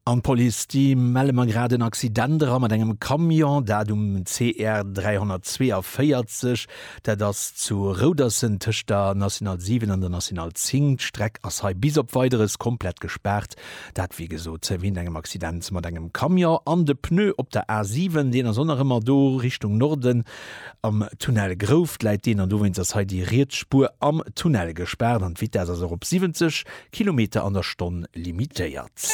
An d'Police, déi melle mer grad en Accident era mat engem Camion, dat um CR 342. Dat ass zu Roudersen tëscht der National 7 an der National 10. D'Streck ass hei bis op Weideres komplett gespaart. Dat wéi gesot wéint engem Accident mat engem Camion. An de Pneu op der A7, deen ass och nach ëmmer do Richtung Norden am Tunnel Grouft läit deen an dowéinst ass hei déi riets Spuer am Tunnel gespaart an d'Vitess ass och op 70 Kilometer an der Stonn limitéiert.